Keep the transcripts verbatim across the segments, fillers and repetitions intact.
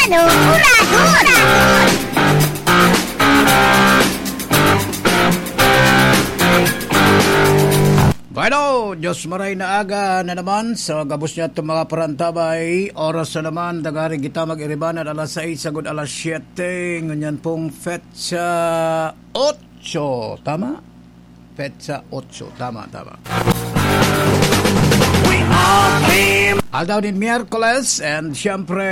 Locura, locura. Bueno, Diyos maray na aga na naman sa gabos niya itong mga parantabay. Oras na naman, dagari kita mag-iribanan alas sais sagod alas siyete. Ngunyan pong petsa otso, tama? Petsa otso, tama, tama. Aldaw nin Miyerkules, and siyempre,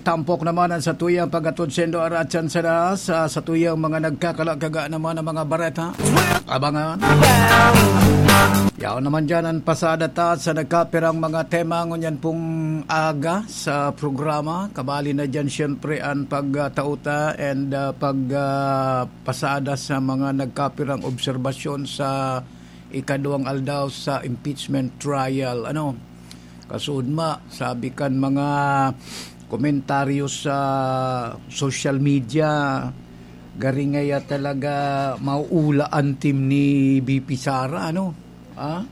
tampok naman ang satuyang pag-atod sendo aratyan sana sa satuyang mga nagkakalakaga naman ng mga bareta. Abangan. Yaon naman dyan ang pasada ta sa nagkapirang mga tema ngunyan pong aga sa programa. Kabali na dyan, siyempre, ang pagtauta and ah, pag ah, pasada sa mga nagkapirang obserbasyon sa ikaduwang aldaw sa impeachment trial. Ano, kasuodma, sabi kan mga komentaryo sa social media, gari ngaya talaga mauula an team ni V P Sara, ano? Ah?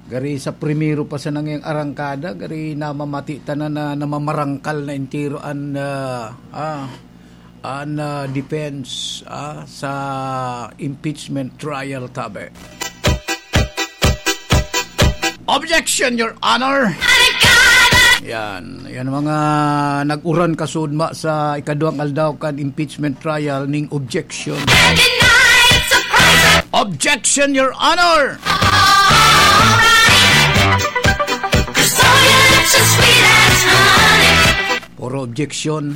Gari sa primero pa sana ngayang arangkada, gari namamati ta na, na namamarangkal na entero an, ah, ah, an, ah, defense, ah, sa impeachment trial, tabi. Objection, Your Honor! Yan. Yan mga nag-uran kasudma sa ikaduwang aldaw kan impeachment trial ning objection. Objection, Your Honor! Puro objection.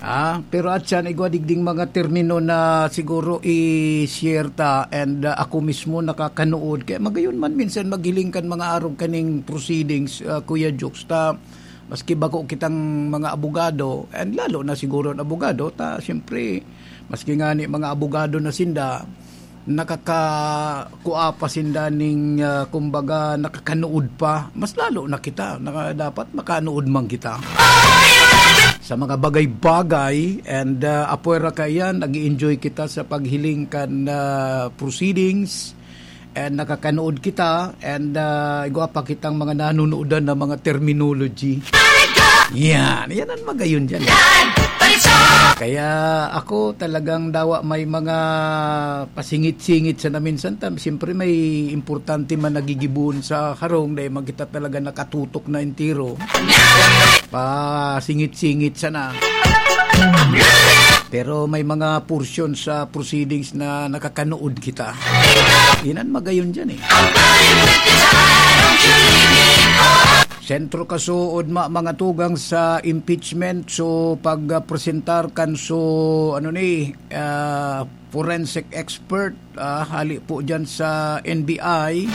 Ah, pero atyan, igwa digding mga termino na siguro i-share ta, and ah, ako mismo nakakanood. Kaya magayon man minsan maghiling kan mga arog kaning proceedings, ah, Kuya Jokes, ta maski bako kitang mga abogado, and lalo na siguro ang abogado, ta siyempre, maski nga ni mga abogado na sinda, nakakakua pa sinda ning, ah, kumbaga, nakakanood pa. Mas lalo na kita, naka-, dapat makanood man kita sa mga bagay-bagay, and ah, apwera kaiyan, nag enjoy kita sa paghiling kan ah, proceedings, and nakakanood kita, and ah, igwa pa kitang mga nanunuodan na mga terminology. Yan, yan ang magayon dyan. Kaya ako talagang dawa may mga pasingit-singit sana minsan. Tam, siyempre may importante man nagigibohon sa harong, dahil man kita talaga nakatutok na entero. Pasingit-singit sana. Pero may mga portion sa proceedings na nakakanood kita. Yan ang magayon dyan eh. Sentro kasuod ma-, mga tugang sa impeachment. So, pag-presentar kan so, ano ni, ah, forensic expert, ah, hali po dyan sa N B I.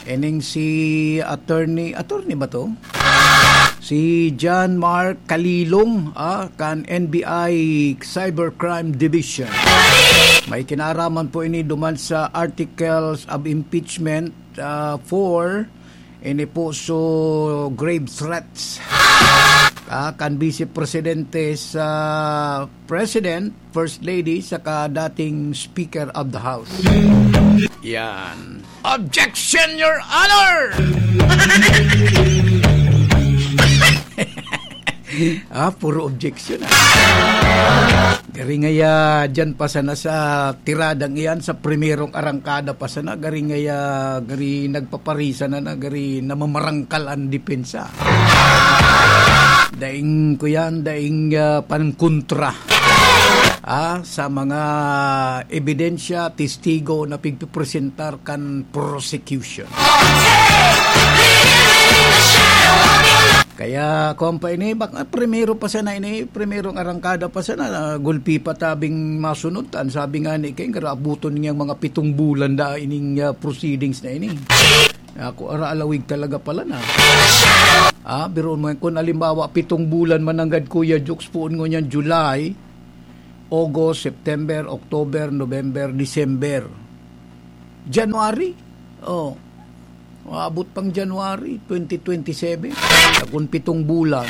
Ining si attorney, attorney ba to? Si John Mark Kalilong, ah, kan N B I Cybercrime Division. May kinaraman po ini duman sa articles of impeachment, ah, for ini po so grave threats, ah, kan Vice Presidente sa President, First Lady, saka dating Speaker of the House. Yan. Objection, Your Honor! Ah, puro objection, ah. Gari ngaya, dyan pa sana sa tiradang iyan, sa primerong arangkada pa sana, gari ngaya, gari nagpaparisa na na, gari namamarangkal ang depensa. Daing ko yan, daing ah, pankontra, ah, sa mga ebidensya, testigo na pigpipresentar kan prosecution. Kaya, kung pa ini, bak-, ah, primero pa sana ini, primerong arangkada pa sana, ah, gulpi pa tabing masunod. An sabi nga ni King, abuton niyang mga pitong bulan da ining, ah, proceedings na ini. Ako, ara alawig talaga pala na. Ah, biruon mo yan. Kung halimbawa, pitong bulan mananggad, Kuya Jokes, puon ngunyan July, August, September, October, November, December, January. Oh, maabot pang January twenty twenty-seven. Kung pitong bulan.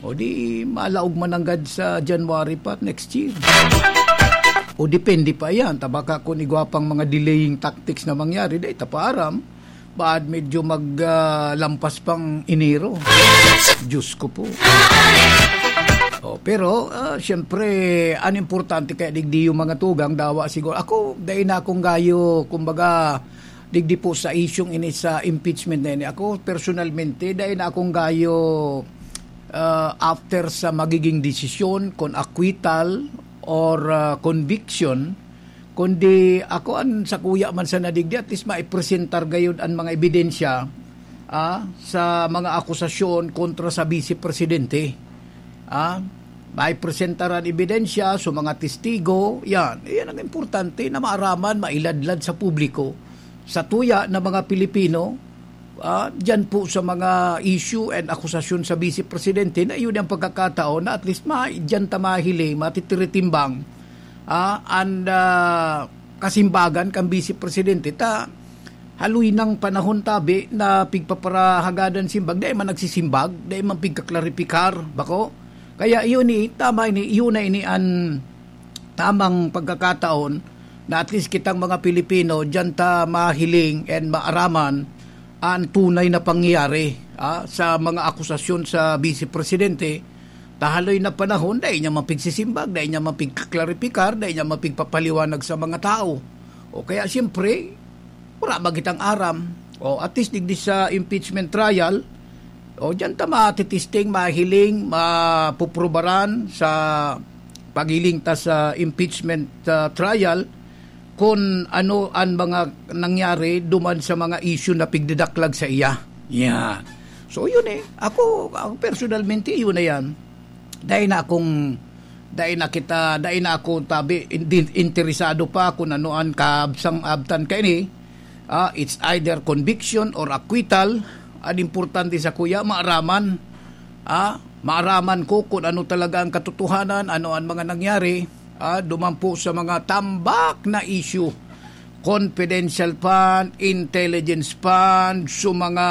O di, malaog mananggad sa January pa next year. O depende pa yan. Tabaka kung igwa pang mga delaying tactics na mangyari, dahil tapaaram, Baad medyo mag, ah, lampas pang Enero. Diyos ko po. Oh, pero, ah, siyempre, ang importante kaya digdi yung mga tugang, dawa siguro. Ako, dai na akong gayo, kumbaga, digdi po sa isyung ini sa impeachment na ini. Ako, personalmente, dai na akong gayo, ah, after sa magiging desisyon, kung acquittal or, ah, conviction, kundi ako an sakuya man sa nadigdi, at least maipresentar gayud an mga ebidensya, ah, sa mga akusasyon kontra sa Vice Presidente. Ah, maipresentar an ebidensya, so mga testigo, yan. Yan ang importante na maaraman, mailadlad sa publiko, sa tuya na mga Pilipino, ah, dyan po sa mga issue and akusasyon sa Vice Presidente na yun ang pagkakataon na at least ma-, dyan ta mahiling, matitiritibang, ah, an, ah, kasimbagan kan Vice Presidente ta haloy nang panahon tabi na pigpaparahagadan simbag, dai man nagsisimbag, dai man pigkaklaripikar, bako? Kaya iyon ni, tama ini, iyon na ini an tamang pagkakataon na at least kitang mga Pilipino, diyan ta mahiling and maaraman an tunay na pangyayari, ah, sa mga akusasyon sa Vice Presidente. Ta haloy na panahon, dai niya mapigsisimbag, dai niya mapigklaripikar, dai niya mapigpapaliwanag sa mga tao. O kaya, siyempre, wala magitang aram. O at least, digdi sa impeachment trial, o diyan ta matitisting, mahiling, mapuprubaran sa paghiling ta sa impeachment, ah, trial, kun ano an mga nangyari duman sa mga issue na pigdadaklag sa iya. Yan. So, yun eh. Ako, ako personalmente, yun na yan. Dai na akong, dai na kita, dai na ako tabi, hindi interesado pa kung ano an kaabsang-abtan kaini. Ah, it's either conviction or acquittal. An importante sakuya, maaraman. Ah, maaraman ko kung ano talaga ang katotohanan, ano ang mga nangyari. Ah, duman po sa mga tambak na issue. Confidential fund, intelligence fund, so mga,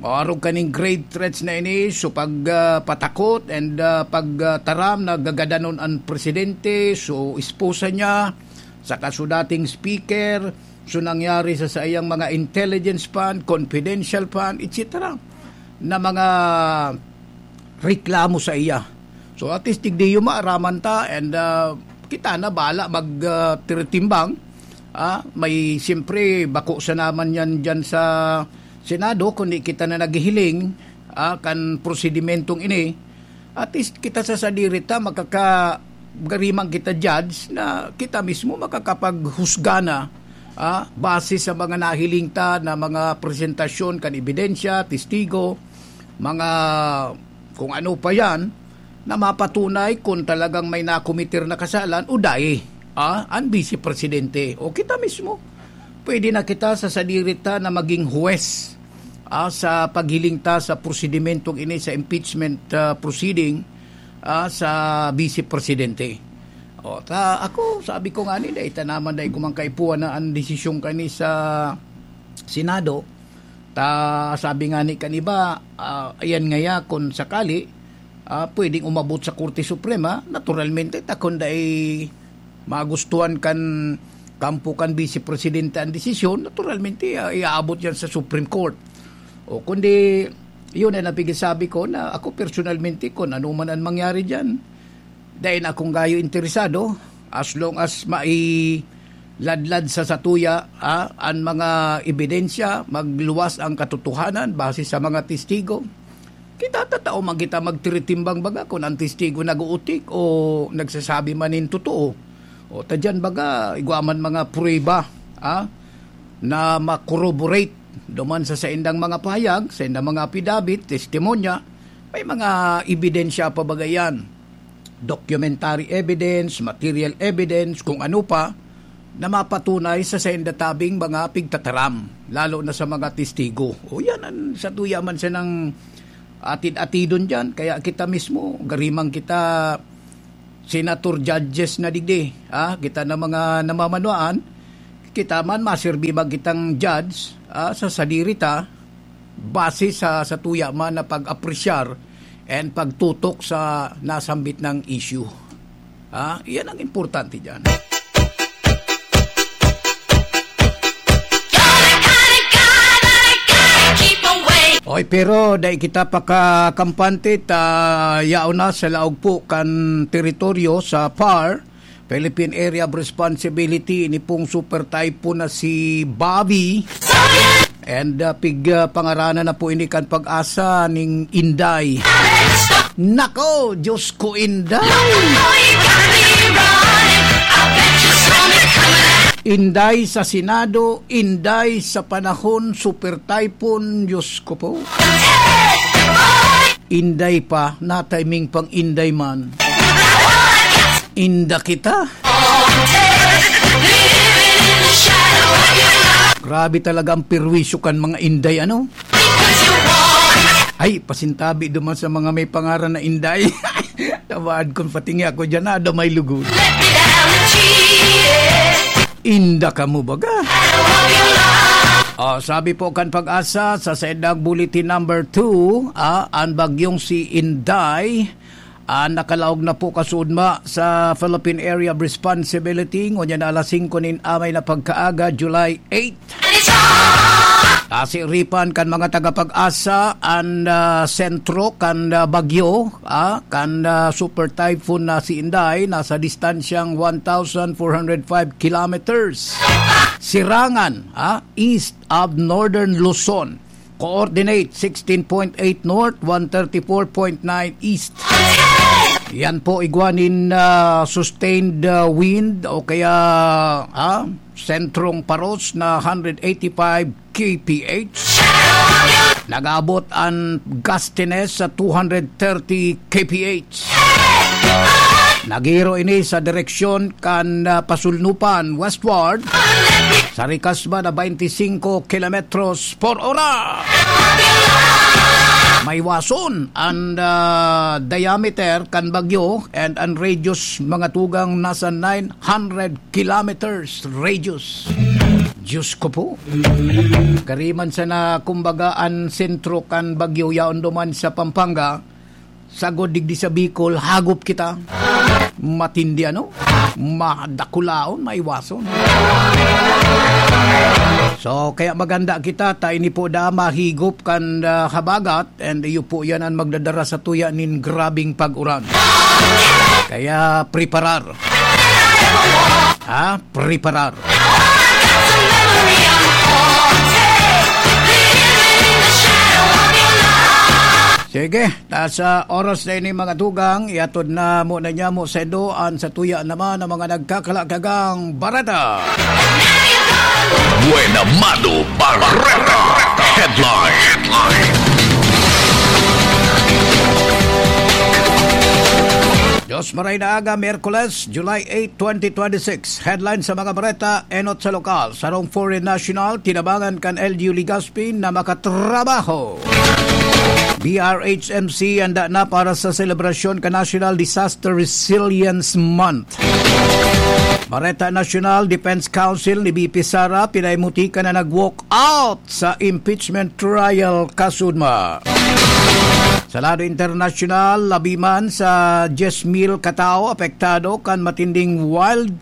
oh, arog kaning grave threats na ini, so pag, ah, patakot and, ah, pag, ah, taram na gagadanon an presidente, so esposa niya, saka so dating speaker, so nangyari sa saiyang mga intelligence fund, confidential fund, et cetera, na mga reklamo sa iya. So, at least, digdi yung maaraman ta, and, ah, kita na bahala mag, ah, tiritimbang. Ah, may, siyempre, bako sa naman yan dyan sa Senado, kundi kita na naghihiling, ah, kan prosedimentong ini. At least, kita sa sadiri ta, makaka-, gariman kita judge na kita mismo makakapaghusga na, ah, base sa mga nahiling ta na mga presentasyon kan ebidensya, testigo, mga kung ano pa yan, na mapatunay kung talagang may nakometer na kasalan o dai, ah, an Vice Presidente o kita mismo. Pwede na kita sa sadiri ta na maging huwes, ah, sa paghiling ta sa prosedimentong ini sa impeachment, ah, proceeding, ah, sa Vice Presidente. O, ta, ako, sabi ko nga ni, dai ta naman, dai ko man kaipuhan na an desisyon kani sa Senado. Ta, sabi nga ni kan iba, ah, ayan ngaya, kung sakali, ah, pwedeng umabot sa Korte Suprema, naturalmente, ta kun dai magustuhan kan kampo kan Vice Presidente ang desisyon, naturalmente, ah, iaabot yan sa Supreme Court. O, kundi, yun ang napigsasabi ko na ako personalmente, kung ano man ang mangyari dyan, dai na akong gayo interesado, as long as mailadlad sa satuya, ah, an mga ebidensya, magluwas ang katotohanan base sa mga testigo. Kita tatao man kita magtiritimbang baga kun ang testigo nag-uutik o nagsasabi man nin totoo. O ta diyan baga, igwa man mga prueba, ah, na ma-corroborate duman sa saindang mga pahayag, saindang mga apidabit, testimonya, may mga ebidensya pa baga yan. Documentary evidence, material evidence, kung ano pa, na mapatunay sa sainda tabing mga pigtataram, lalo na sa mga testigo. O yan, ang satuya man siya ng atid-atidon dyan. Kaya kita mismo, gariman kita senator judges na digdi, ah, kita na mga namamanwaan, kita man maserbi man kitang judge, ah, sa sadiri ta, base sa, sa tuya man na pag-apresyar and pagtutok sa nasambit ng issue. Ah, iyan ang importante dyan. Oy, pero dai kita pakakampante ta yaon na sa laog po kan teritoryo sa par, Philippine Area of Responsibility, ini pong super typhoon na si Bobby. And, ah, pig, ah, pangaranan na po ini kan Pag-asa ning Inday. Nako, Diyos ko, Inday! Inday sa Senado, Inday sa panahon, super typhoon, Diyos ko po. Inday pa, natiming pang Inday man. Inda kita. Grabe talaga ang perwisyo kan mga Inday, ano? Ay, pasintabi duman sa mga may pangaran na Inday. Tawaad kun patingi ako dyan, ada may lugod. Inda kamo baga? Oh, sabi po kan Pag-asa sa Saydang Bulletin number two, ah, an bagyong si Inday, ah, nakalaog na po kasudma sa Philippine Area of Responsibility. Ngunyan na alas singko nin amay na pagkaaga, July eight. Asiripan kan mga taga-Pag-asa an, ah, sentro kan, ah, bagyo, ah, kan, ah, super typhoon na si Inday, nasa distansyang one thousand four hundred five kilometers. Sirangan, ah, east of northern Luzon. Coordinate sixteen point eight north, one thirty-four point nine east. Yan po igwa nin, ah, sustained, ah, wind o kaya, ah, sentrong paros na hundred eighty-five K P H. Nag-abot an gustiness sa two hundred thirty K P H. Nagiro ini sa direksyon kan, ah, Pasulnupan westward sa rikas man na twenty-five kilometros por ora. Maiwason an, ah, diameter kan bagyo and an radius mga tugang nasa nine hundred kilometers radius. Diyos ko po. Gariman sana, kumbaga, an sentro kan bagyo yaon duman sa Pampanga, sagod digdi sa Bicol, hagop kita. Matindi, ano? Madakulaon, maiwason. So, kaya maganda kita, ta ini po da mahigop kan, ah, habagat, and iyo po yan ang magdadara sa tuya nin grabing pag-uran. Kaya preparar. Ha? Preparar. Sige, ta sa oras na ini, mga tugang, iatod na muna niya mo saindo an sa tuya naman ng mga nagkakalakagang bareta. Buena Mano Bareta Headline. Diyos maray na aga, Miyerkules, July eight, twenty twenty-six. Headline sa mga bareta, enot sa lokal. Sarong foreign national, tinabangan kan L G U Legazpi na makatrabaho. B R H M C handa na para sa selebrasyon kan National Disaster Resilience Month. Bareta Nasyonal, Defense Counsel ni V P Sara, pinaimuti ka na nag-walk out sa impeachment trial kasudma. Sa lado internasyonal, labi man sa diyes mil katao apektado kan matinding wild,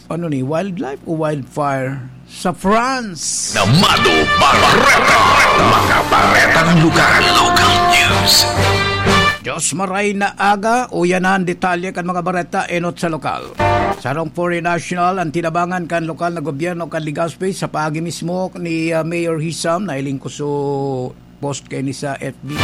ano ni, wildlife o wildfire sa France. Namado Bareta, mga baretang lugar, local news. Diyos maray na aga, uyanan detalye kan mga bareta enot sa lokal. Sarong foreign national ang tinabangan kan lokal na gobyerno kan Legazpi sa paagi mismo ni, ah, Mayor Hisam na iling ko so post kaini sa F B.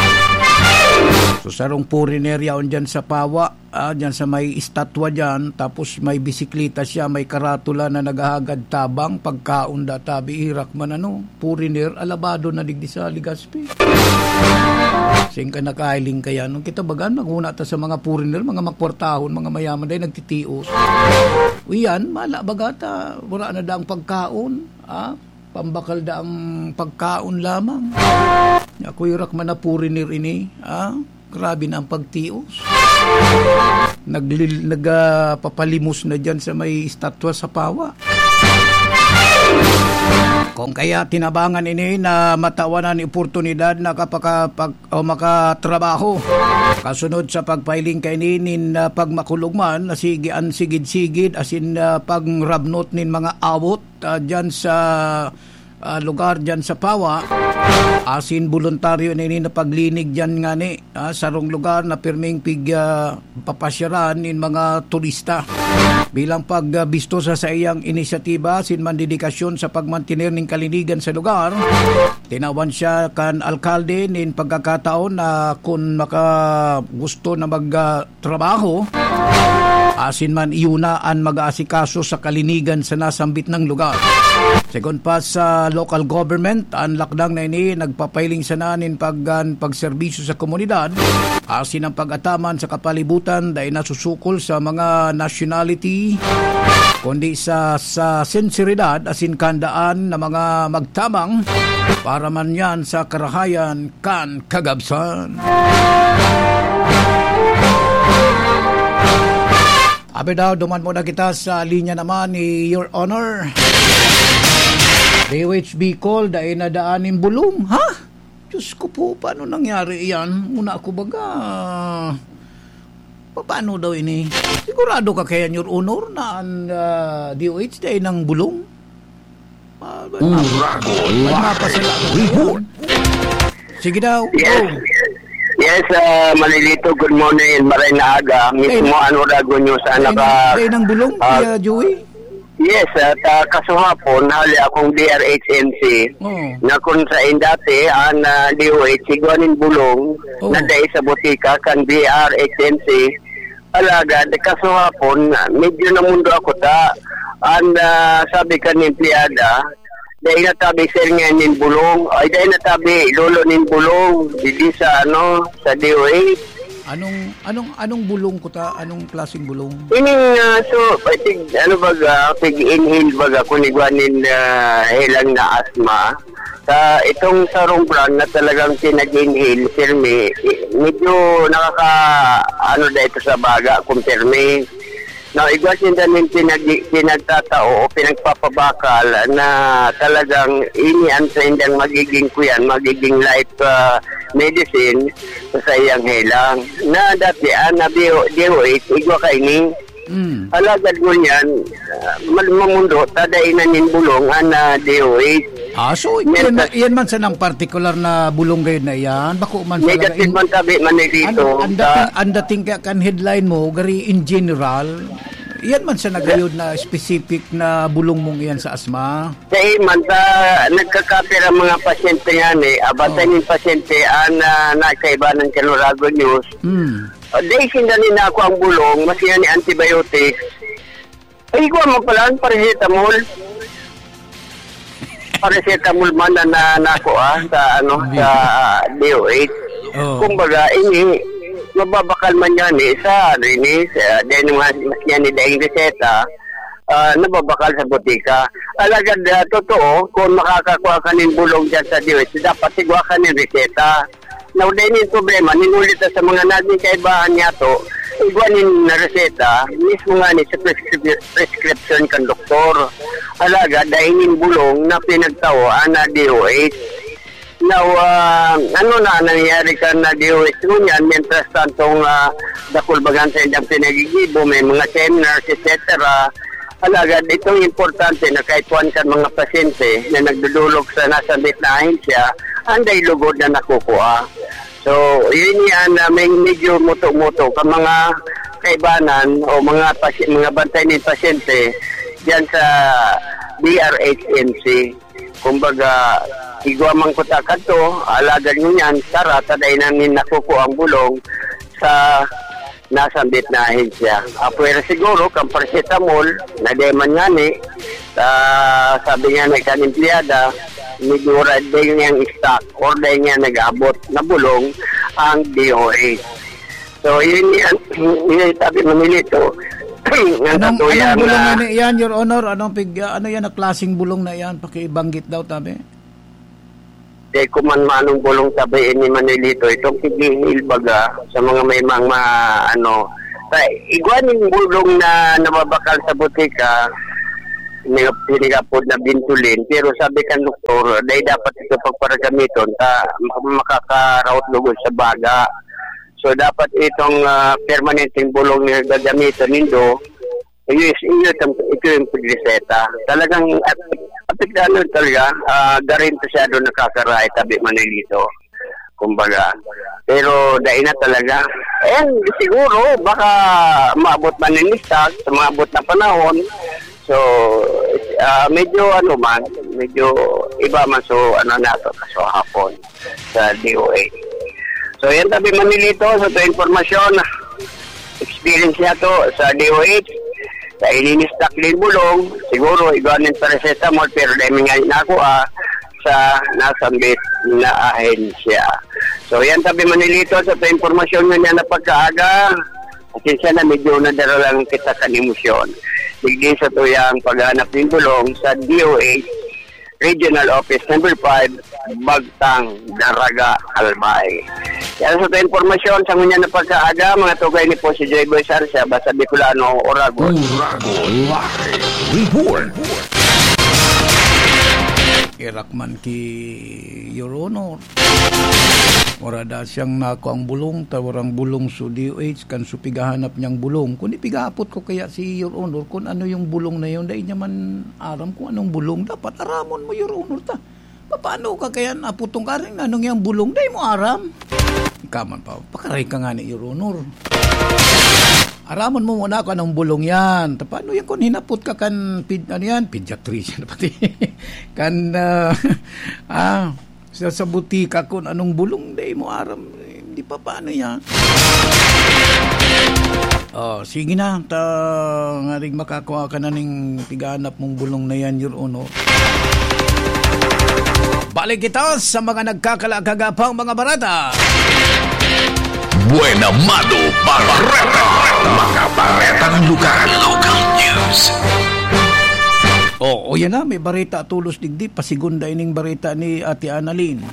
So, sarong foreigner yaon dyan sa Pawa, ah, dyan sa may estatwa dyan, tapos may bisikleta siya, may karatula na naghahagad tabang, pagkaon da, tabi, irak man ano, foreigner, alabado na digdi sa Legazpi. Sing ka nakailing kaya, nung kita bagan, maghuna ta sa mga foreigner, mga makwartahon, mga mayaman, dahil nagtitios. Uyan, mala baga ta, wala na daang pagkaon, ah? Pambakal da ang pagkaon lamang. Ako irak man na foreigner ini, ah? Grabe na ang pagtios. Naglil-, nag, ah, papalimos na dyan sa may estatwa sa Pawa. Kung kaya tinabangan ini na matawan an oportunidad na kapaka-, pag-, o makatrabaho. Kasunod sa pagpailing kaini nin, ah, pagmakulog man, na sige an sigid-sigid, asin, ah, pangrabnot nin mga awot, ah, dyan sa, ah, lugar diyan sa Pawa. Asin boluntaryo na ini na paglinig diyan ngani, ah, sarong lugar na pirming pig, ah, papasyaran nin mga turista. Bilang pagbisto sa saiyang inisyatiba asin mandedikasyon sa pagmantener nin kalinigan sa lugar, tinawan siya kan alkalde nin pagkakataon na kun maka-, gusto na mag, ah, trabaho, asin man iyo na an mag-aasikaso sa kalinigan sa nasambit nang lugar. Segun pa sa local government, an lakdang na ini nagpapailing sana nin paggan pagserbisyo sa komunidad, asin ang pag-ataman sa kapalibutan dai nasusukol sa mga nationality, kundi sa, sa sinseridad asin kandaan na mga magtabang para man yan sa karahayan kan kagabsan. Abi daw, duman muna kita sa linya naman ni Your Honor. D O H Bicol, dai na daan nin bulong, ha? Diyos ko po, paano nangyari yan? Una ako baga, pa-, paano daw ini? Sigurado ka kaya, Your Honor, na ang, ah, D O H dai nang bulong? Ah, Uragon may Live mapasala. Report. Sige daw. Yes. Go. Yes, ah, Manilito, good morning. Maray na aga. Mismo, Ay, ano, Uragon News, ah, Ay, naka, Ay, nang bulong, ah, Kuya Joey? Yes, at, ah, kasuhapon, hali akong B R H M C, Oo. na kung sa dati, ang, ah, D O H, igwa nin bulong, Oo. na dai sa botika, kan B R H M C, Alagad, kasuhapon, medyo namundo ako ta. An, ah, sabi kan empleyada, "Dai na tabi, sir, ngayon nin bulong. Ay, dai na tabi, lolo, nin bulong. Didi sa, ano, sa D O H." Anong, anong, anong bulong ko ta? Anong klaseng bulong? Ining, ah, so, I think, ano baga, pig-inhale baga, kung igwa nin, ah, helang na asma. Sa itong sarong brand na talagang pinag-inhale, pirmi, i-, medyo nakaka-, ano na ito sa baga, kung pirmi. Na igwa sinda nin pinag-, pinagtatao o pinagpapabakal na talagang ini ang saindang magiging kuyan, magiging life, ah, medicine sa saiyang helang. Na dati, ah, na B O, D O H, igwa kaini. Mm. Alagad ngunyan, ah, mal-, mamundo, ta dai na nin bulong an, ah, D O H. Ah, so, iyan Mientras man, iyan man sanang partikular na bulong gayud na iyan, bako man sa Negative laga-, man tabi man ni dito, an, an dating, sa an dating kaya kan headline mo, gari in general, iyan man sana gayud na specific na bulong mong iyan sa asma? Sa iman, sa nagkakapir ang mga pasyente nga ni, abantay Ah. nin pasyente, an, ah, nakaibanan kan Uragon News. Hmm. Ah, dai sinda nin ako ang bulong, mas yan ni antibiotics. Ay, igwa mo pala, ang paracetamol. Paracetamol man na, na, nako, ah, sa, ano, Hindi. sa D O H. Oo. Kumbaga, ini, mababakal man yan, eh, sa, ano, ini, sa, dahil mga, mas yan, eh, dahil reseta, ah, nababakal sa botika. Alagad, ah, totoo, kung makakakuha ka nin bulong dyan sa D O H, dapat sigwa ka nin reseta. Now, dahil yung problema, ninulit na sa mga naging kaibahan niya to, igwa nin na reseta, mismo nga ni sa prescrip-, prescription kan doktor. Alaga, dahil yung bulong na pinagtao, ana D O H. Now, ah, ano na nangyayari ka na D O H mo niyan, mientras tantong, ah, dakul bagan sa inyong pinagigibo, may mga seminars, et cetera. Alagad, itong importante na kahit kuwan kan mga pasyente na nagdudulog sa nasambit na ahensya, anday lugod na nakukuha. So, yun yan na may medyo muto-muto ka mga kaibanan o mga pasy-, mga bantay ni pasyente diyan sa B R H M C. Kumbaga, igwa man ko ta kadto, alagad ngunyan, sara, ta dai namin nakukuha ang bulong sa nasambit na ahensya. Apwera siguro, kan paracetamol, na dai man ngani, ah, sabi nga na kan empleyada, medyo wala dai niyang stock or dai niya nag-abot na bulong ang D O H. So, yun yan, yun yung sabi mo nilito. Ang Anong, totoo anong yan bulong na yan, yan, Your Honor? Anong pig-, ano yan, na klaseng bulong na yan? Pakibanggit daw, tabi. Di ko man manong bulong sabi ni Manilito, itong pig-inhale baga sa mga may mga, ano, sa igwa ning bulong na nababakal sa botika, ni-, pinigapod na Ventolin, pero sabi kan doktor, dai dapat ito pagparagamiton, ta-, mak-, makakaraot lugod sa baga. So, dapat itong, ah, permanenteng bulong na gagamiton nindo, iyo, iyo, ito yung pagreseta. Talagang at Ano talaga, ah, garin masyado nakakarahay tabi Manilito. Kumbaga. Pero dai na talaga. And siguro, baka maabot man ni Mister sa mga abot na panahon. So, ah, medyo ano man, medyo iba man. So, ano na to, kaso hapon sa D O H. So, yan tabi Manilito. So, ito impormasyon, experience niya to sa D O H. Sa ininistak din bulong, siguro, igwa nin paracetamol, pero dahil nga na ako, ah, sa nasambit na ahensya. So, yan tabi Manilito, sa ito impormasyon nga niya na pagkaaga. Pasensya na, medyo nadara lang kita kan emosyon. Digdi sa tuyang paghanap nin bulong sa D O H Regional Office Number five, Bagtang, Daraga, Albay. Yan sa impormasyon sa ngunyan na pagkaaga, mga tugay ni po si Joy Boy Sarsia, basta Bicolano, Oragon. Oragon Live Report. Irak man ki Your Honor. Wara da siyang nako ang bulong, ta warang bulong so D O H, kan so pighahanap niyang bulong. Kun ipigahapot ko kaya si Your Honor, kun ano yung bulong na yun, dai niya man aram kung anong bulong. Dapat aramon mo, Your Honor, ta. Paano ka kaya naputong karing anong yung bulong? Dai mo aram. Ikaw man pa, pakaray ka nga ni Your Honor. Aramon mo muna kung anong bulong yan. Ta, paano yan kung hinapot ka kan ped-, ano yan? Pediatrician pati. Kan, ah, ah, sa, sa butika kung anong bulong, dai mo aram. Eh, di pa paano yan? Oh, sige na. Ta, ngaring makakua ka na ning piganap mong bulong na yan, Your Honor. Balik kita sa mga nagkakalakagapang mga barata. Buena Mano Bareta. Mga baretang lokal. Local news. Oh, o yan na, may bareta tulos digdi. Pasigunda ining bareta ni Ate Annalyn.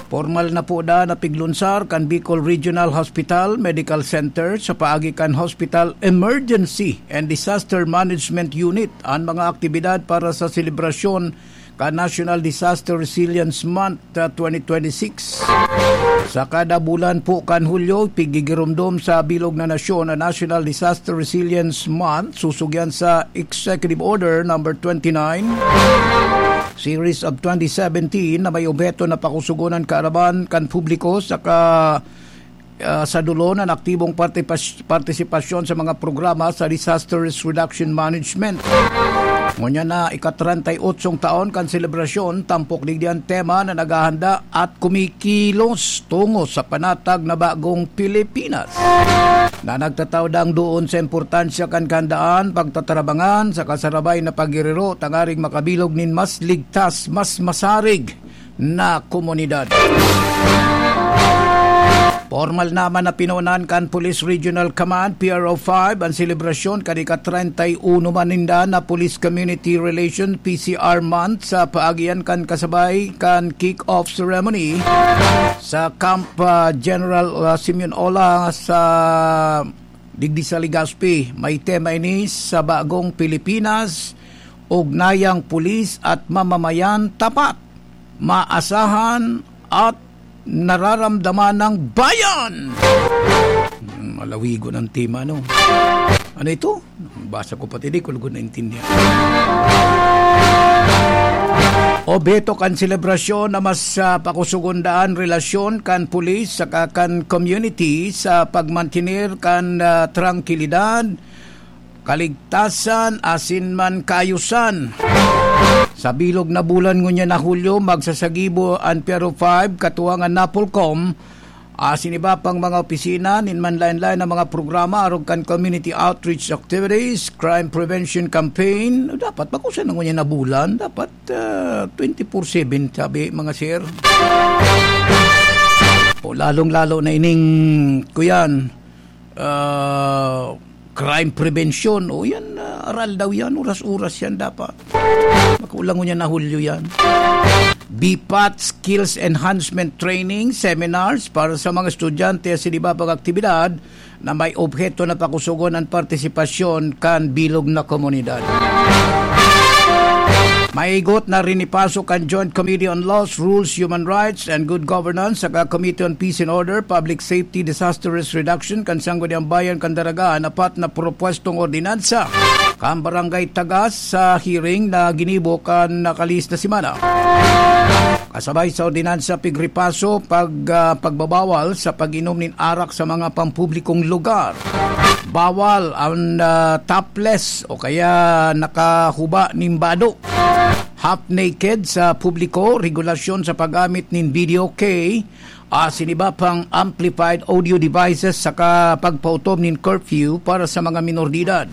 Formal na po da na piglunsar kan Bicol Regional Hospital Medical Center sa paagi kan Hospital Emergency and Disaster Management Unit an mga aktibidad para sa selebrasyon kan National Disaster Resilience Month, ah, twenty twenty-six. Sa kada bulan po kan Hulyo, pigigiromdom sa bilog na nasyon ang National Disaster Resilience Month, susugyan sa Executive Order Number twenty-nine, Series of twenty seventeen, na may obheto na pakusugon an kaaraman kan publiko saka ah, sa dulon an aktibong partipas-, partisipasyon sa mga programa sa Disaster Risk Reduction Management. Ngunyan na ika-treinta y ocho taon kan selebrasyon, tampok digdi an tema na naghahanda at kumikilos tungo sa panatag na bagong Pilipinas, na nagtatao dang doon sa importansya kan kahandaan, pagtatarabangan, sa kasarabay na paggirirot tangaring makabilog nin mas ligtas, mas masarig na komunidad. Pormal naman na pinoonan kan Police Regional Command, P R O five, an selebrasyon kan ika-treinta y uno man ninda na Police Community Relation, P C R, Month sa paagian kan kasabay kan kick-off ceremony sa Camp, ah, General, ah, Simeon Ola sa digdi sa Legazpi. May tema ini sa bagong Pilipinas, ugnayang pulis at mamamayan tapat, maasahan at nararamdaman ng bayan. Hmm, malawigon ang tema, no? Ano ito? Basa ko pati di ko lugod naintindihan. Obheto kan selebrasyon na mas, ah, pakusugon daan relasyon kan pulis saka kan community sa pagmantener kan, ah, trangkilidad, kaligtasan asin man kaayusan. Sa bilog na bulan ngunyan na Hulyo, magsasagibo an P R O five, katuwangan Napolcom, asin iba pang mga opisina nin manlaen-laen na mga programa arog kan community outreach activities, crime prevention campaign. Dapat, bako sa ngunyan na bulan, dapat, ah, twenty-four seven, sabi, mga sir. O, lalong-lalo na ining, kuyan, ah, crime prevention. O yan, ah, aral daw yan, oras-oras yan dapat. Makulang ngunyan na Hulyo yan. B pat Skills Enhancement Training Seminars para sa mga estudyante sa iba pang aktibidad na may obheto na pakusugon an partisipasyon kan bilog na komunidad. Maigot na rinipaso kan Joint Committee on Laws, Rules, Human Rights, and Good Governance saka Committee on Peace and Order, Public Safety, Disaster Risk Reduction kan Sangguniang Bayan kan Daraga an apat na propwestong ordinansa kan Barangay Tagas sa hearing na ginibo kan nakalihis na semana. Kasabay sa ordinansa, pigripaso, pag, ah, pagbabawal sa pag-inom nin arak sa mga pampublikong lugar. Bawal ang, ah, topless o kaya nakahuba nin bado, half naked sa publiko, regulasyon sa paggamit nin video key, asin iba pang amplified audio devices saka pagpautom nin curfew para sa mga minor de edad.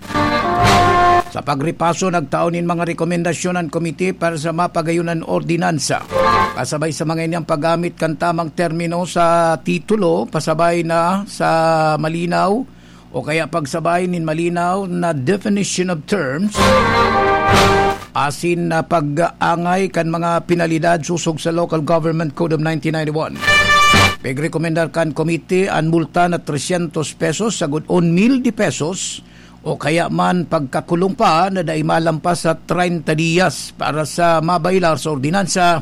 Sa pagripaso, nagtao nin mga rekomendasyon an komite para sa mapagayon an ordinansa. Kasabay sa mga ini, ang paggamit kan tamang termino sa titulo, pasabay na sa malinaw o kaya pagsabay nin malinaw na definition of terms, asin na pag-angay kan mga penalidad sosog sa Local Government Code of nineteen ninety-one. Pigrekomendar kan komite an multa na trescientos pesos, sagkod un mil de pesos, o kaya man pagkakulong pa na dai malampas sa treinta diyas para sa mabailar sa ordinansa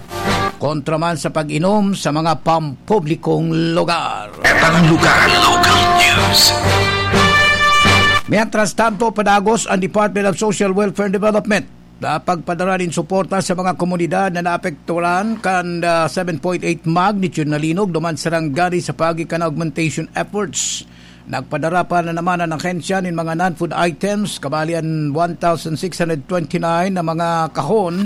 kontra man sa pag-inom sa mga pampublikong lugar. Etang lugar, local news. Mientras tanto, padagos ang Department of Social Welfare and Development na pagpadara nin suporta sa mga komunidad na naapektuhan kan, ah, seven point eight magnitude na linog duman sa Sarangani sa paagi kan augmentation efforts. Nagpadara pa na naman an ahensya nin mga non-food items, kabali an one thousand six hundred twenty-nine na mga kahon.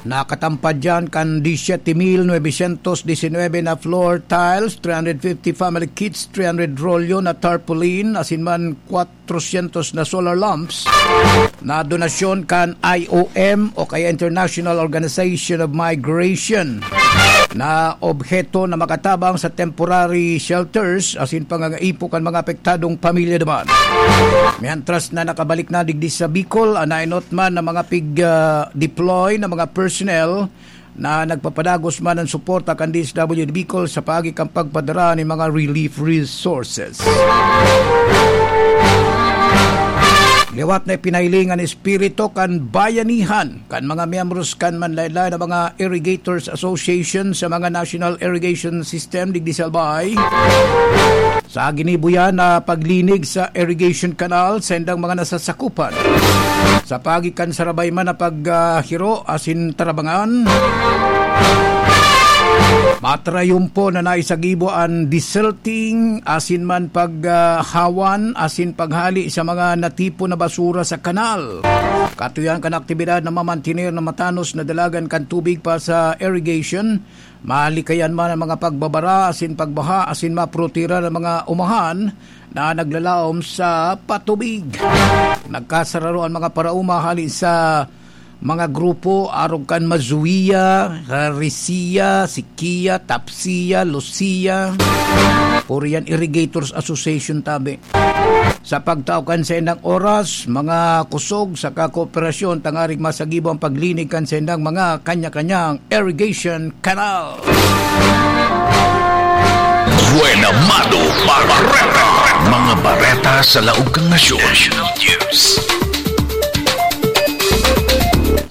Nakatampad diyan kan disyete mil nuebesyentos disinwebe na floor tiles, three hundred fifty family kits, three hundred rolyo na tarpaulin, asin man kwatrosyentos na solar lamps na donasyon kan I O M o kaya International Organization of Migration na obheto na makatabang sa temporary shelters asin pangangaipo kan mga apektadong pamilya duman. Mientras na nakabalik na digdi sa Bicol, an naenot man na mga pig, ah, deploy na mga personnel na nagpapadagos man ang suporta kan D S W D Bicol sa paagi kan pagpadara nin mga relief resources. Liwat na ipinahiling an espiritu kan bayanihan kan mga miyembros kan manlaen-laen na mga Irrigators Association sa mga National Irrigation System digdi sa Albay. Sa ginibo yan na paglinig sa irrigation canal sa indang mga nasasakupan. Sa paagi kan sarabay man na pag, ah, hiro asin tarabangan, matrayumpo na naisagibo an desilting asin man pag, ah, hawan asin paghali sa mga natipon na basura sa kanal. Katuyan kan aktibidad na mamantener na matanos na dalagan kan tubig pa sa irrigation, malikayan man ang mga pagbabara asin pagbaha asin maprotehiran ang mga umahan na naglalaom sa patubig. Nagkasararo ang mga paraoma hali sa mga grupo arog kan Mazuia, Risia, Sikia, Tapsia, Lucia. Puro yan Irrigators Association tabi. Sa pagtao kan saindang oras, mga kusog saka kooperasyon tangarig masagibo ang paglinig kan saindang mga kanya-kanyang irrigation canal. Buena Mano Bareta. Mga bareta sa laog kan nasyon. National News.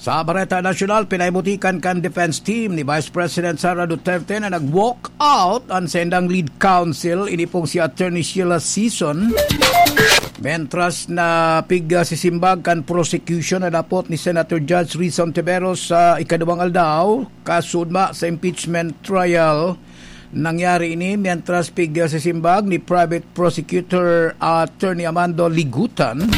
Sa bareta nasyonal, pinaibutikan kan defense team ni Vice President Sara Duterte na nag-walk out an saindang lead counsel, ini pong si Attorney Sheila Sison. Mientras na pig, ah, sisimbag kan prosecution na dapot ni Senator Judge Rizon Tiveros sa ikaduwang aldaw, kasudma sa impeachment trial. Nangyari ini mientras pig, ah, sisimbag ni Private Prosecutor Attorney Amando Ligutan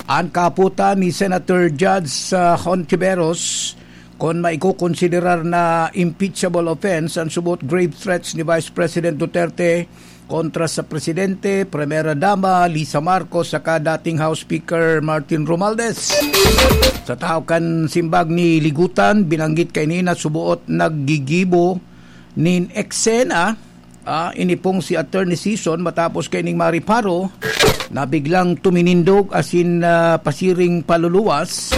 an kahapotan ni Senator Judge, ah, Hontiveros kon maikokonsiderar na impeachable offense an subot grave threats ni Vice President Duterte kontra sa Presidente, Primera Dama Lisa Marcos saka dating House Speaker Martin Romualdez. Sa tahaw kan simbag ni Ligutan, binanggit kaini na suboot naggigibo nin eksena, ah, ini pong si Attorney Sison matapos kaining mariparo na biglang tuminindog asin, ah, pasiring paluluwas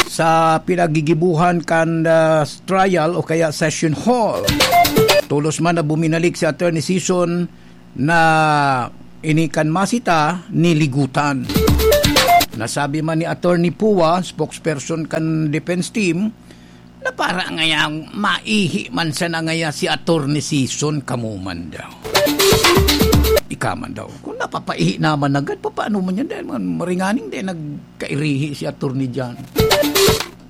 sa pinaggigibuhan kan, ah, trial o kaya session hall. Tolos man na buminalik si Attorney Sison na ini kan masita ni Ligutan. Nasabi man ni Attorney Pua, spokesperson kan defense team, na para ngaya maihi man sana ngaya si Attorney Sison, kamo man daw. Ika man daw. Kung napapaihi naman agad, papaano man yan? Dahil man maringaning din nagkairihi si Attorney John.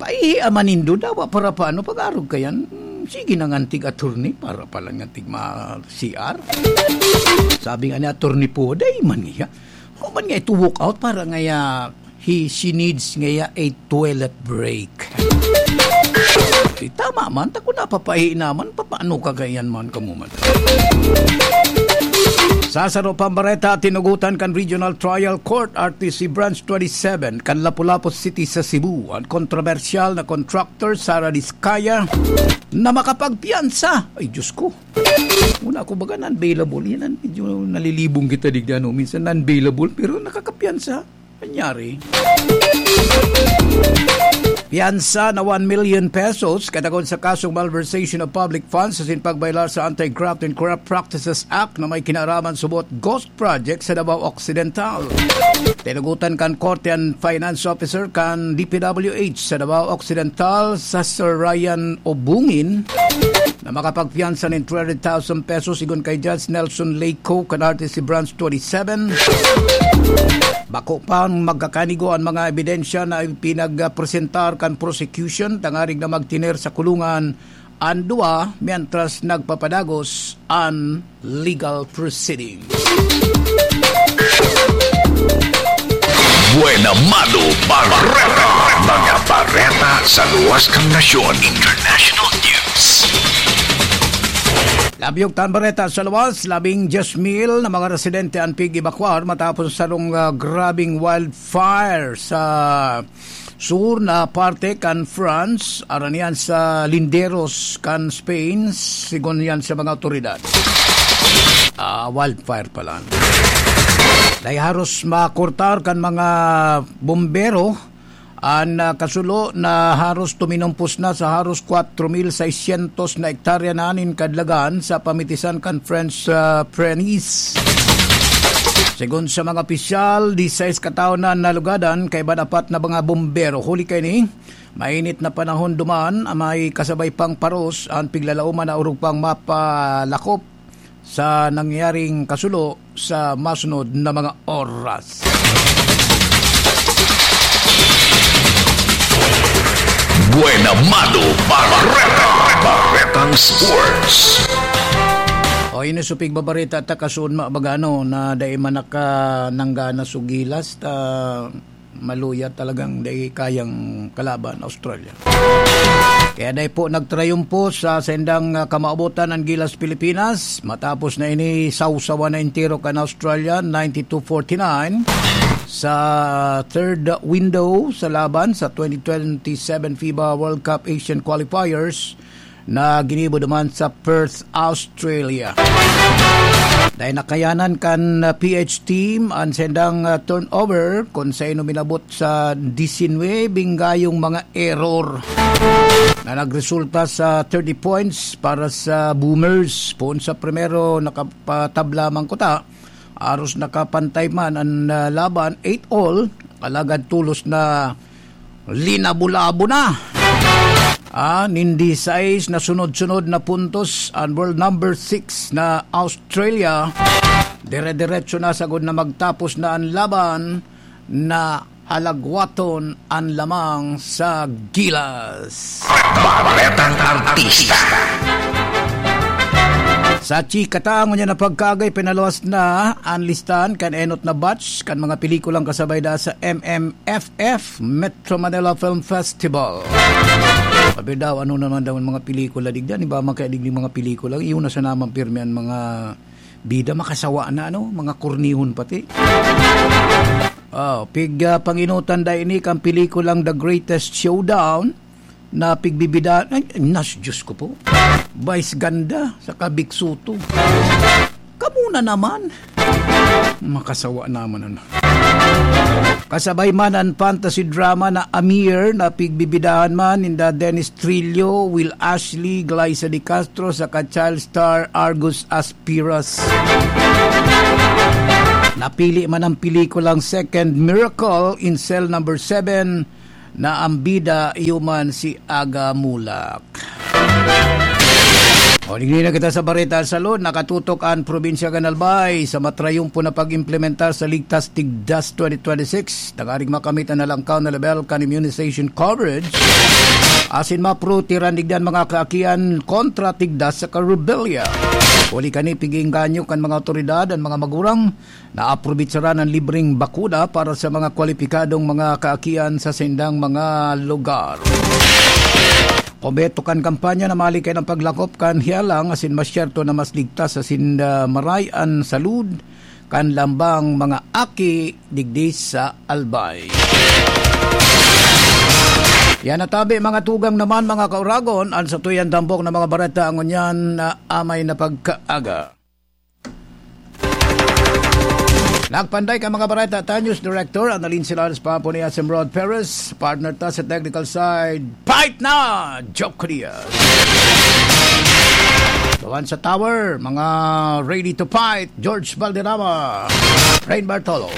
Paihi man nindo daw, para paano pag-arog ka yan? Sige na nga, antig attorney, para pala nga tig ma-C R. Sabi nga ni Attorney Pua, dai man niya. Kung man nga ito walk out, para ngaya, he, she needs ngaya a toilet break. Eh, tama man, ta kung napapaihi naman, papaano ka ganyan man, kamo man? Sa saro pang bareta, tinugutan kan Regional Trial Court, R T C Branch twenty-seven, kan Lapu-Lapu City sa Cebu, an kontrobersyal na contractor, Sara Discaya, na makapagpiyansa. Ay, Diyos ko. Una ko baga non-bailable. Yan ang medyo nalilibong kita digdi, ano. Minsan non-bailable, pero nakakapiyansa. Nangyari. Piyansa na one million pesos, katagon sa kasong malversation of public funds asin pagbayolar sa Anti-Graft and Corrupt Practices Act na may kinaraman subot ghost project sa Davao Occidental. Tinugutan kan korte an finance officer kan D P W H sa Davao Occidental, sa Sir Ryan Obungin, na makapagpiyansa nin three hundred thousand pesos, sigon kay Judge Nelson Leyco kan R T C Branch twenty-seven. Bako pang magkakanigo an mga ebidensya na ipinagpresentar kan prosecution, tangarig na magtener sa kulungan an duwa, mientras nagpapadagos an legal proceedings. Buena Mano Bareta. Mga bareta sa luwas kan nasyon, international news. Labyog tan bareta sa luwas, labing dyes mil na mga residente an pig-ebakwar matapos sarong, ah, grabing wildfire sa sur na parte kan France, aran iyan sa linderos kan Spain, sigon yan sa mga awtoridad. Ah, wildfire pala. Dai haros makurtar kan mga bombero an, ah, kasulo na haros tuminumpos na sa haros kwatro mil seiscientos na hektarya na nin kadalagan sa pamitisan kan French, ah, Pyrenees. Segun sa mga opisyal, disais katawo na nalugadan, kaiba an apat na mga bombero. Huli kaini, mainit na panahon duman, may kasabay pang paros an piglalaoman na orog pang mapalakop sa nangyaring kasulo sa masunod na mga oras. Buena Mano Bareta. Baretang Sports. O, ini supig babareta ta kasunod, ma-, baga, ano, na dai man naka-, nanggana sugilas, ta maluya talagang dai kayang kalaban, Australia. Kaya dai po nagtrayumpo sa sendang, ah, kamaabotan ang Gilas Pilipinas. Matapos na ini, sawsawan na entero kan Australia, ninety-two forty-nine. Sa third window sa laban sa twenty twenty-seven fiba World Cup Asian Qualifiers, na ginibo duman sa Perth, Australia. Dai nakayanan kan, uh, P H team an sendang, uh, turnover, kun saino minabot sa disinwebeng gayong mga error na nagresulta sa thirty points para sa Boomers. Poon sa primero, nakapatabla man kuta, aros nakapantay man an, uh, laban, eight all, alagad tolos na linabo-labo na. Ah, nin disais na sunod-sunod na puntos an world number six na Australia. Dire-diretso na sagod na magtapos na an laban na halagwaton an lamang sa Gilas. Baretang Artista. Sa chika ta, ngunyan na pagkagay, pinaluwas na an listahan kan enot na batch kan mga pelikulang kasabay da sa M M F F, Metro Manila Film Festival. Sabi daw, ano naman daw ang mga pelikula digdan? Iba man kaya digdi mga pelikula. Iyon na sa naman pirmi ang mga bida, makasawa na, ano? Mga kornihon pati. Oh, pig, ah, panginutan da ini kan pelikulang The Greatest Showdown na pigbibidahan. Ay, nas, Diyos ko po. Vice Ganda, saka Big Soto. Kamo na naman. Makasawa naman, ano. Kasabay man an fantasy drama na Amir na pigbibidahan man ninda Dennis Trillo, Will Ashley, Glyza De Castro, saka child star Argus Aspiras. Napili man ang pelikulang Second Miracle in Cell Number Seven na ang bida iyo man si Aga Mulak. O, digdi na kita sa Bareta sa Lod. Nakatutok ang probinsya kan Albay sa matrayumpo na pag-implementar sa Ligtas Tigdas twenty twenty-six. Tanganing makamit ang nalangkaw na level kan immunization coverage. Asin maprotehiran digdi an mga kaakian kontra tigdas sa karubelya. Huli kani pig-iengganyo kan mga awtoridad an mga magurang na aprobitsaran an libreng bakuna para sa mga kwalipikadong mga kaakian sa sindang mga lugar. Kombeto kan kampanya na malikay ng paglakop kan hiyalang asin masyerto na mas ligtas asin, ah, maray an salud kan lambang mga aki digdi sa Albay. Yan natabi, mga tugang naman, mga kauragon, an satuyan tampok na mga bareta ngunyan na amay na pagkaaga. Nagpanday ka mga bareta, ta News Director Annalyn Silanes, Papo ni Asim Rod Perez, partner ta sa technical side, fight na! Joke Diaz. Gawan sa tower, mga ready to fight, George Valderrama, Rain Bartolo.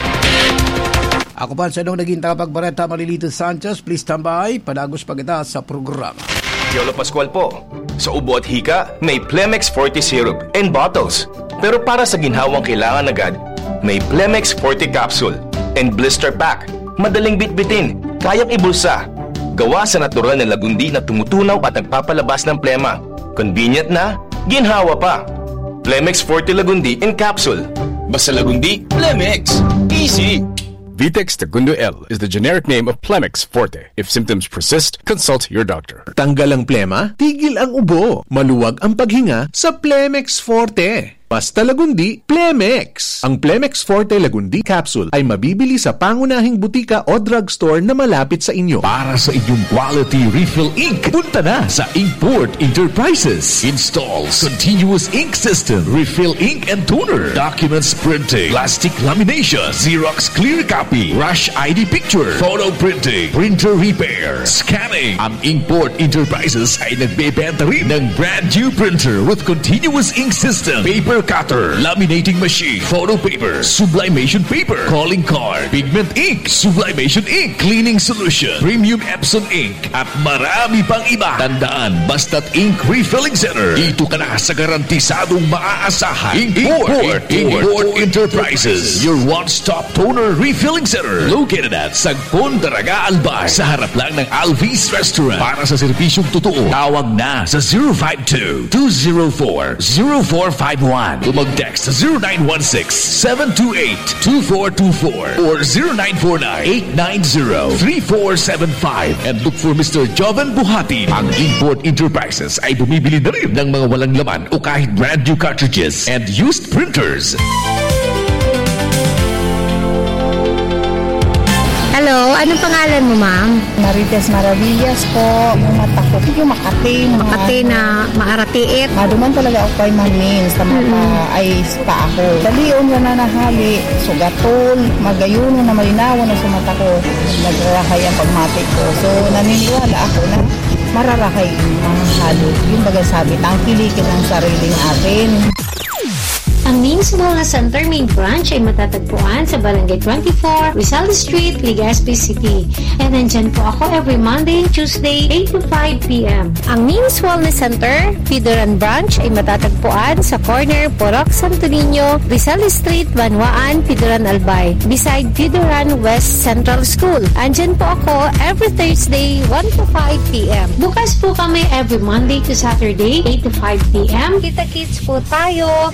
Ako pa sa inong naging tagapagbareta, Malilito Sanchez. Please tambay, padagos pa kita sa programa. Yolo Pascual po. Sa ubo at hika, may Plemex Forte Syrup and bottles. Pero para sa ginhawang kailangan agad, may Plemex Forte Capsule and Blister Pack. Madaling bitbitin, kayang ibulsa. Gawa sa natural na lagundi na tumutunaw at nagpapalabas ng plema. Convenient na, ginhawa pa. Plemex Forte Lagundi in Capsule. Basta Lagundi, Plemex. Easy! Vitex Tagundo L is the generic name of Plemex Forte. If symptoms persist, consult your doctor. Tanggal ang plema, tigil ang ubo, maluwag ang paghinga sa Plemex Forte. Basta Lagundi, Plemex! Ang Plemex Forte Lagundi Capsule ay mabibili sa pangunahing butika o drugstore na malapit sa inyo. Para sa inyong quality refill ink, punta na sa Inkport Enterprises. Installs continuous ink system, refill ink and toner, documents printing, plastic lamination, Xerox clear copy, rush I D picture, photo printing, printer repair, scanning. Ang Inkport Enterprises ay nagbebenta rin ng brand new printer with continuous ink system, paper cutter, laminating machine, photo paper, sublimation paper, calling card, pigment ink, sublimation ink, cleaning solution, premium Epson ink, at marami pang iba. Tandaan, basta't ink refilling center, dito ka na sa garantisadong maaasahan. Inkport, Inkport, Inkport Enterprises, your one-stop toner refilling center. Located at Sagpon, Daraga, Albay, sa harap lang ng Alvis Restaurant. Para sa serbisyong totoo, tawag na sa zero five two, two zero four, zero four five one. O mag-text sa zero nine one six, seven two eight, two four two four or zero nine four nine, eight nine zero, three four seven five. And look for Mister Joven Buhatin. Ang Inkport Enterprises ay bumibili na rin ng mga walang laman o kahit brand new cartridges and used printers. Hello, anong pangalan mo, ma'am? Marites Maravillas po. Yung mata ko, yung Makati, mga Makati na maaratiit. Maduman talaga ako kay Ma'am Min sa mata, Mm-mm. ay spa ako. Dalion na nahali, sugatol, magayuno na malinawan na sa mata ko. Nagrarahay ang pagmati ko. So, naniniwala ako na mararahay yung mga halo. Yung baga sabi, tangkilikin ang sariling atin. Ang Min's Wellness Center main branch ay matatagpuan sa Barangay twenty-four, Rizal Street, Legazpi City. And nandyan po ako every Monday and Tuesday, eight to five p m. Ang Min's Wellness Center, Pidoran Branch, ay matatagpuan sa corner Purok Santo Niño, Rizal Street, Banwaan, Pidoran, Albay, beside Pidoran West Central School. Andyan po ako every Thursday, one to five p m. Bukas po kami every Monday to Saturday, eight to five p m. Kita-kits po tayo.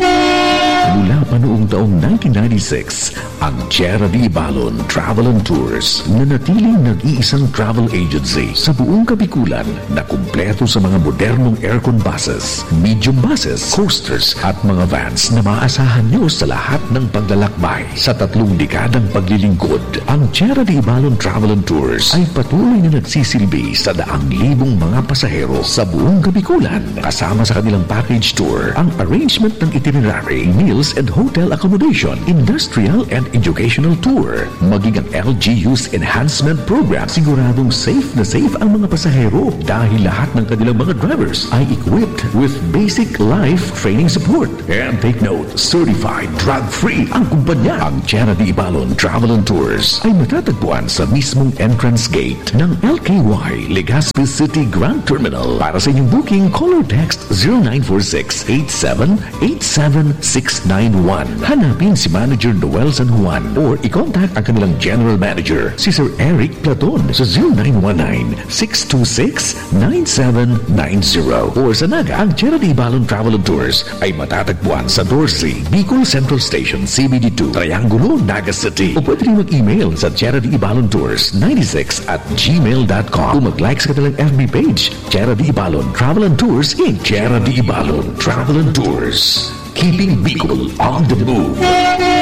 Mula pa noong taong nineteen ninety-six, ang Tierra de Ibalon Travel and Tours, nanatiling nag-iisang travel agency sa buong Kabikulan na kumpleto sa mga modernong aircon buses, medium buses, coasters at mga vans na maaasahan nyo sa lahat ng paglalakbay. Sa tatlong dekadang paglilingkod, ang Tierra de Ibalon Travel and Tours ay patuloy na nagsisilbi sa daang libong mga pasahero sa buong Kabikulan, kasama sa kanilang package tour, ang arrangement ng itinerary, meals and hotel accommodation, industrial and educational tour, maging ang L G U's enhancement program. Siguradong safe na safe ang mga pasahero dahil lahat ng kanilang mga drivers ay equipped with basic life training support. And take note, certified drug-free ang kumpanya. Ang Tierra de Ibalon Travel and Tours ay matatagpuan sa mismong entrance gate ng L K Y Legazpi City Grand Terminal. Para sa inyong booking, call or text zero nine four six eight seven eight seven six nine one. Hanapin si Manager Noel San Juan or i-contact ang kanilang General Manager, si Sir Eric Platon, sa zero nine one nine six two six nine seven nine zero. Or sa Naga, ang Tierra de Ibalon Travel and Tours ay matatagpuan sa Dorsey, Bicol Central Station, C B D two, Triangulo, Naga City. O pwede rin mag-email sa Tierra de Ibalon Tours ninety-six at gmail dot com o mag-like sa kanilang F B page, Tierra de Ibalon Travel and Tours, Inc. Tierra de Ibalon Travel and Tours. Keeping Bicol on the move.